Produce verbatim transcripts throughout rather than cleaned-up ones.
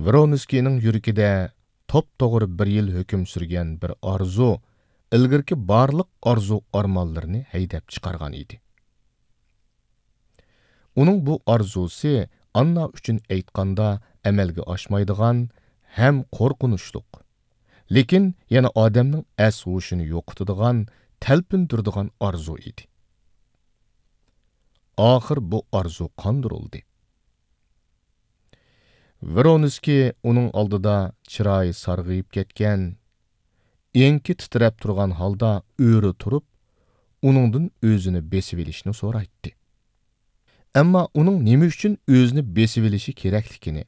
ۋرونسكىينىڭ يۈرىكىدە توپتوغرا بىر يىل ھۆكۈم سۈرگەن بىر ئارزۇ ئىلگىرىكى بارلىق ئارزۇ-ئارمانلىرىنى ھەيدەپ چىقارغان ئىدى. ئۇنىڭ بۇ ئارزۇسى ئاننا ئۈچۈن ئېيتقاندا ئەمەلگە ئاشمايدىغان ھەم قورقۇنچلۇق، لېكىن يەنە ئادەمنىڭ ئەس-ھوشىنى يوقىتىدىغان، تەلپۈندۈرىدىغان ئارزۇ ئىدى. ئاخىر بۇ ئارزۇ قاندۇرۇلدى. ۋرونسكىي ئۇنىڭ ئالدىدا چىرايى سارغىيىپ كەتكەن، ئېڭىكى تىترەپ تۇرغان ھالدا ئۆرە تۇرۇپ، ئۇنىڭدىن ئۆزىنى بېسىۋېلىشنى سورايتتى. ئەمما ئۇنىڭ نېمە ئۈچۈن ئۆزىنى بېسىۋېلىشى كېرەكلىكىنى،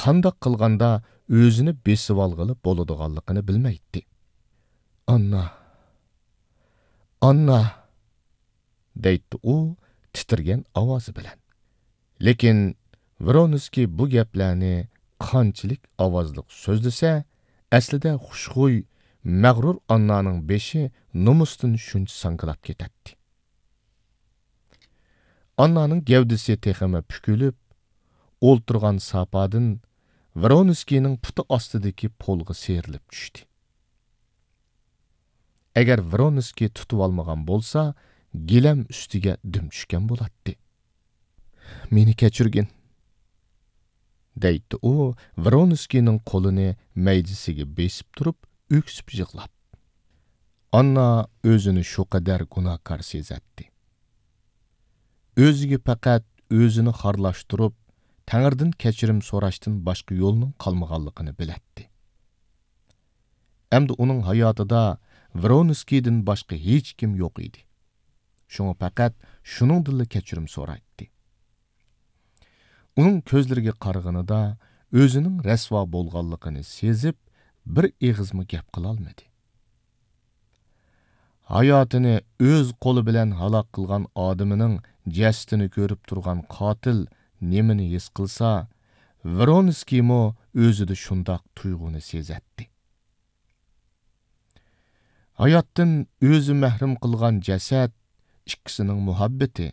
قانداق قىلغاندا ئۆزىنى بېسىۋالغىلى بولىدىغانلىقىنى بىلمەيتتى. «ئاننا، ئاننا!» دەيتتى ئۇ تىترىگەن ئاۋازى بىلەن. لېكىن ۋرونسكىي بۇ گەپلەرنى قانچىلىك ئاۋازلىق سۆزلىسە، ئەسلىدە خۇشخۇي، مەغرۇر ئاننانىڭ بېشى نومۇستىن شۇنچە ساڭگىلاپ كېتەتتى. ئاننانىڭ گەۋدىسى تېخىمۇ پۈكۈلۈپ، ئولتۇرغان ساپادىن ۋرونسكىينىڭ پۇتى ئاستىدىكى پولغا سىيرىلىپ چۈشتى. ئەگەر ۋرونسكىي تۇتۇۋالمىغان بولسا، گىلەم ئۈستىگە دۈم چۈشكەن بولاتتى. «مېنى كەچۈرگىن»، دەيتتى ئۇ، ۋرونسكىينىڭ قولىنى مەيدىسىگە بېسىپ تۇرۇپ، ئۆكسۈپ يىغلاپ. ئاننا ئۆزىنى شۇ قەدەر گۇناھكار سېزەتتى. ئۆزىگە پەقەت ئۆزىنى خارلاشتۇرۇپ، تەڭرىدىن كەچۈرۈم سوراشتىن باشقا يولنىڭ قالمىغانلىقىنى بىلەتتى. ئەمدى ئۇنىڭ ھاياتىدا ۋرونسكىيدىن باشقا ھېچكىم يوق ئىدى. شۇڭا پەقەت شۇنىڭدىنلا كەچۈرۈم سورايتتى. ئۇنىڭ كۆزلىرىگە قارىغىنىدا ئۆزىنىڭ رەسۋا بولغانلىقىنى سېزىپ، بىر ئېغىزمۇ گەپ قىلالمىدى. ھاياتىنى ئۆز قولى بىلەن ھالاك قىلغان ئادىمىنىڭ جەسىتىنى كۆرۈپ تۇرغان قاتىل نېمىنى ھېس قىلسا، ۋرونسكىيمۇ ئۆزىدە شۇنداق تۇيغۇنى سېزەتتى. ھاياتتىن ئۆزى مەھرۇم قىلغان جەسەت ئىككىسىنىڭ مۇھەببىتى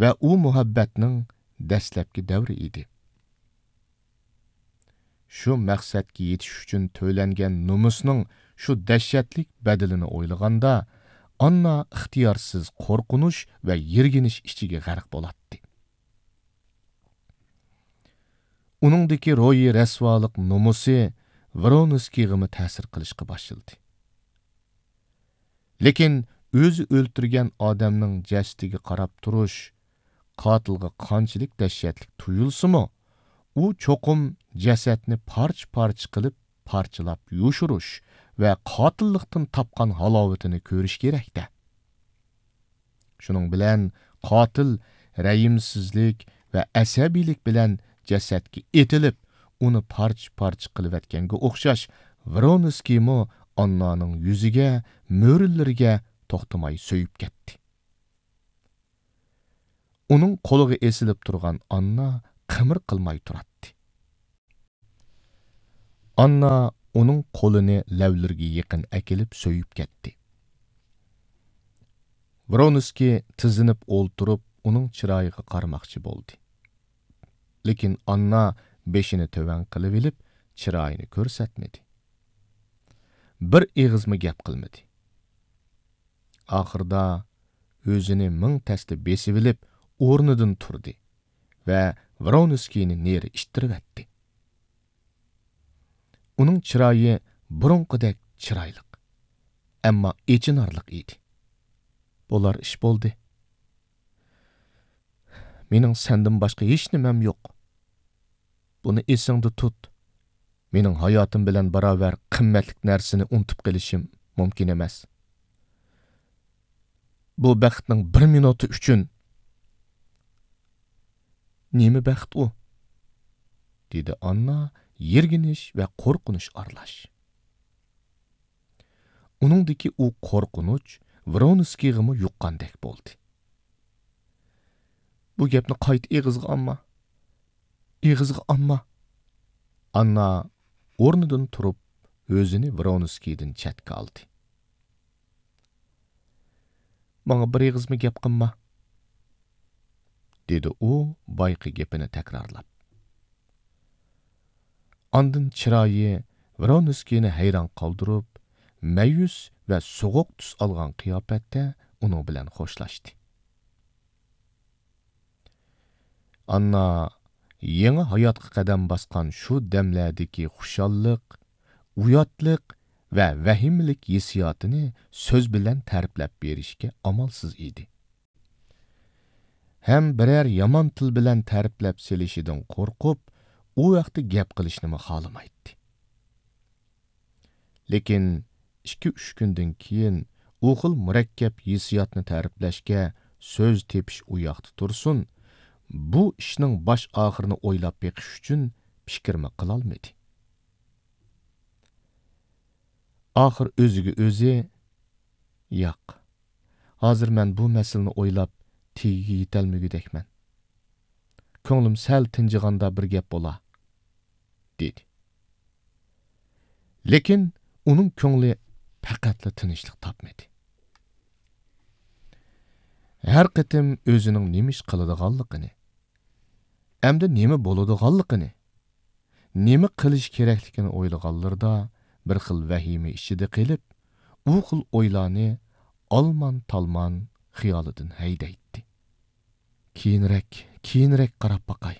ۋە ئۇ مۇھەببەتنىڭ دەسلەپكى دەۋرى ئىدى. شۇ مەقسەتكە يېتىش ئۈچۈن تۆلەنگەن نومۇسنىڭ شۇ دەھشەتلىك بەدىلىنى ئويلىغاندا، ئاننا ئىختىيارسىز قورقۇنچ ۋە يىرگىنچ ئىچىگە غەرق بولاتتى. ئۇنىڭدىكى روھىي رەسۋالىق نومۇسى ۋرونسكىيغىمۇ تەسىر قىلىشقا باشلىدى. لېكىن ئۆزى ئۆلتۈرگەن ئادەمنىڭ جەسىتىگە قاراپ تۇرۇش قاتىلغا قانچىلىك دەھشەتلىك تۇيۇلسىمۇ، ئۇ چوقۇم جەسەتنى پارچە-پارچە قىلىپ، پارچىلاپ يوشۇرۇش ۋە قاتىللىقتىن تاپقان ھالاۋىتىنى كۆرۈش كېرەك-دە. شۇنىڭ بىلەن قاتىل رەھىمسىزلىك ۋە ئەسەبىيلىك بىلەن جەسەتكە ئېتىلىپ، ئۇنى پارچە-پارچە قىلىۋەتكەنگە ئوخشاش، ۋرونسكىيمۇ ئاننانىڭ يۈزىگە، مۈرىلىرىگە توختىماي سۆيۈپ كەتتى. ئۇنىڭ قولىغا ئېسىلىپ تۇرغان ئاننا قىمىر قىلماي تۇراتتى. ئاننا ئۇنىڭ قولىنى لەۋلىرىگە يېقىن ئەكېلىپ سۆيۈپ كەتتى. ۋرونسكىي تىزلىنىپ ئولتۇرۇپ، ئۇنىڭ چىرايىغا قارىماقچى بولدى. لېكىن ئاننا بېشىنى تۆۋەن قىلىۋېلىپ، چىرايىنى كۆرسەتمىدى. بىر ئېغىزمۇ گەپ قىلمىدى. ئاخىرىدا ئۆزىنى مىڭ تەستە بېسىۋېلىپ، ئورنىدىن تۇردى ۋە ۋرونسكىينى نېرى ئىتتىرىۋەتتى. ئۇنىڭ چىرايى بۇرۇنقىدەك چىرايلىق، ئەمما ئېچىنارلىق ئىدى. بولار ئىش بولدى. مېنىڭ سەندىن باشقا ھېچ نېمەم يوق. بۇنى ئېسىڭدە تۇت. مېنىڭ ھاياتىم بىلەن باراۋەر قىممەتلىك نەرسىنى ئۇنتۇپ قېلىشىم مۇمكىن ئەمەس. بۇ بەختنىڭ بىر مىنۇتى ئۈچۈن. نېمە بەخت ئۇ؟ دېدى ئاننا يىرگىنىش ۋە قورقۇنچ ئارىلاش. ئۇنىڭدىكى ئۇ قورقۇنچ ۋرونسكىيغىمۇ يۇققاندەك بولدى. بۇ گەپنى قايتا ئېغىزغا ئالما. ئېغىزغا ئالما. ئاننا ئورنىدىن تۇرۇپ، ئۆزىنى ۋرونسكىيدىن چەتكە ئالدى. ماڭا بىر ئېغىزمۇ گەپ قىلما، دېدى ئۇ بايىقى گېپىنى تەكرارلاپ. ئاندىن چىرايى ۋرونسكىينى ھەيران قالدۇرۇپ، مەيۈس ۋە سوغۇق تۈس ئالغان قىياپەتتە ئۇنىڭ بىلەن خوشلاشتى. ئاننا يېڭى ھاياتقا قەدەم باسقان شۇ دەملەردىكى خۇشاللىق، ئۇياتلىق ۋە ۋەھىمىلىك ھېسسىياتىنى سۆز بىلەن تەرىپلەپ بېرىشكە ئامالسىز ئىدى. ھەم بىرەر يامان تىل بىلەن تەرىپلەپ سېلىشىدىن قورقۇپ، ئۇ ھەقتە گەپ قىلىشنىمۇ خالىمايتتى. لېكىن ئىككى-ئۈچ كۈندىن كېيىن ئۇ خىل مۇرەككەپ ھېسسىياتنى تەرىپلەشكە سۆز تېپىش ئۇ ياقتا تۇرسۇن، بۇ ئىشنىڭ باش-ئاخىرىنى ئويلاپ بېقىش ئۈچۈن پىكىرمۇ قىلالمىدى. ئاخىر ئۆزىگە ئۆزى، «ياق، ھازىر مەن بۇ مەسىلىنى ئويلاپ تېگىگە يېتەلمىگۈدەكمەن. كۆڭلۈم سەل تىنجىغاندا بىر گەپ بولا» دېدى. لېكىن ئۇنىڭ كۆڭلى پەقەتلا تىنچلىق تاپمىدى. ھەر قېتىم ئۆزىنىڭ نېمە ئىش قىلىدىغانلىقىنى، ئەمدى نېمە بولىدىغانلىقىنى، نېمە قىلىش كېرەكلىكىنى ئويلىغانلىرىدا بىر خىل ۋەھىمە ئىچىدە قېلىپ، ئۇ خىل ئويلارنى ئالمان-تالمان خىيالىدىن ھەيدەيتتى. «كېيىنرەك، كېيىنرەك قاراپ باقاي.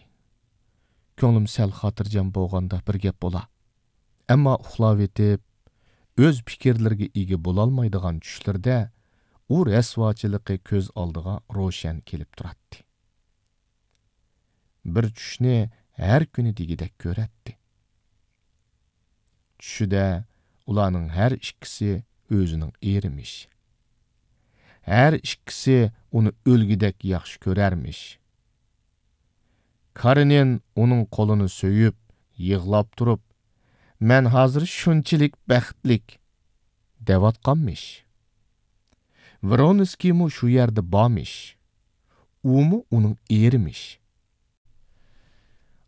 كۆڭلۈم سەل خاتىرجەم بولغاندا بىر گەپ بولا.» ئەمما ئۇخلاۋېتىپ، ئۆز پىكىرلىرىگە ئىگە بولالمايدىغان چۈشلىرىدە ئۇ رەسۋاچىلىقى كۆز ئالدىغا روشەن كېلىپ تۇراتتى. بىر چۈشنى ھەر كۈنى دېگۈدەك كۆرەتتى. چۈشىدە ئۇلارنىڭ ھەر ئىككىسى ئۆزىنىڭ ئېرىمىش. ھەر ئىككىسى ئۇنى ئۆلگۈدەك ياخشى كۆرەرمىش. كارېنىن ئۇنىڭ قولىنى سۆيۈپ، يىغلاپ تۇرۇپ، «مەن ھازىر شۇنچىلىك بەختلىك» دەۋاتقانمىش. ۋرونسكىيمۇ شۇ يەردە بارمىش. ئۇمۇ ئۇنىڭ ئېرىمىش.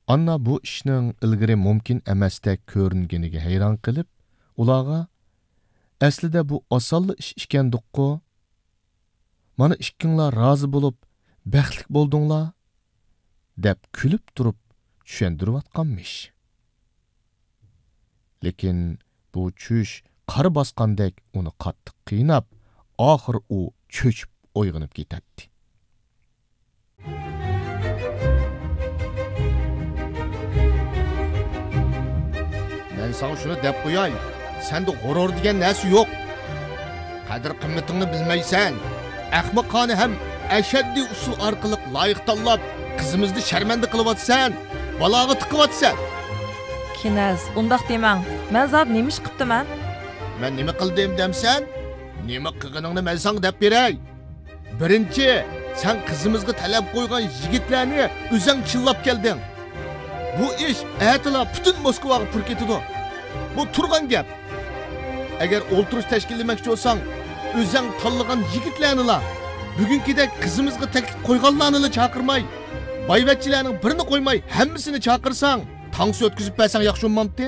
ئاننا بۇ ئىشنىڭ ئىلگىرى مۇمكىن ئەمەستەك كۆرۈنگىنىگە ھەيران قېلىپ، ئۇلارغا، «ئەسلىدە بۇ ئاسانلا ئىش ئىكەندۇققۇ؟ مانا ئىككىڭلار رازى بولۇپ، بەختلىك بولدۇڭلار» دەپ كۈلۈپ تۇرۇپ چۈشەندۈرۈۋاتقانمىش. لېكىن بۇ چۈش قارا باسقاندەك ئۇنى قاتتىق قىيناپ، ئاخىر ئۇ چۆچۈپ ئويغىنىپ كېتەتتى. مەن ساڭا شۇنى دەپ قوياي، سەندە غۇرۇر دېگەن نەرسە يوق. قەدىر-قىممىتىڭنى بىلمەيسەن. ئەخمىقانە ھەم ئەشەددىي ئۇسۇل ئارقىلىق لايىق تاللاپ، قىزىمىزنى شەرمەندە قىلىۋاتىسەن، بالاغا تىقىۋاتىسەن. كىنەز، ئۇنداق دېمەڭ. مەن زادى نېمە ئىش قىپتىمەن؟ مەن نېمە قىلدىم دەمسەن؟ نېمە قىلغىنىڭنى مەن ساڭا دەپ بېرەي. بىرىنچى، سەن قىزىمىزغا تەلەپ قويغان يىگىتلەرنى ئۆزەڭ چىللاپ كەلدىڭ. بۇ ئىش ئەتىلا پۈتۈن موسكۋاغا پۇر كېتىدۇ. بۇ تۇرغان گەپ. ئەگەر ئولتۇرۇش تەشكىللىمەكچى بولساڭ، ئۆزەڭ تاللىغان يىگىتلەرنىلا، بۈگۈنكىدەك قىزىمىزغا تەكلىپ قويغانلارنىلا چاقىرماي، بايۋەچچىلەرنىڭ بىرىنى قويماي ھەممىسىنى چاقىرساڭ، تانسا ئۆتكۈزۈپ بەرسەڭ ياخشى بولمامتى؟